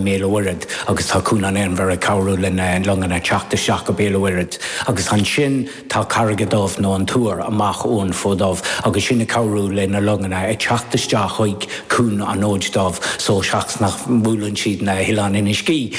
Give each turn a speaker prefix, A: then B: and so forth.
A: mBéal a' Mhuirthead agus tá Cuan an Inbhir ag cabhrú le na longanna teacht isteach go Béal a' Mhuirthead agus ansin tá Carraig Dubh nó an Tuar amach ón Fód Dubh agus sin ag cabhrú le na longanna ag teacht isteach chuig Cuan an Fhóid Dubh so seachas nach mbuaileann siad na hOileáin Inis Gí.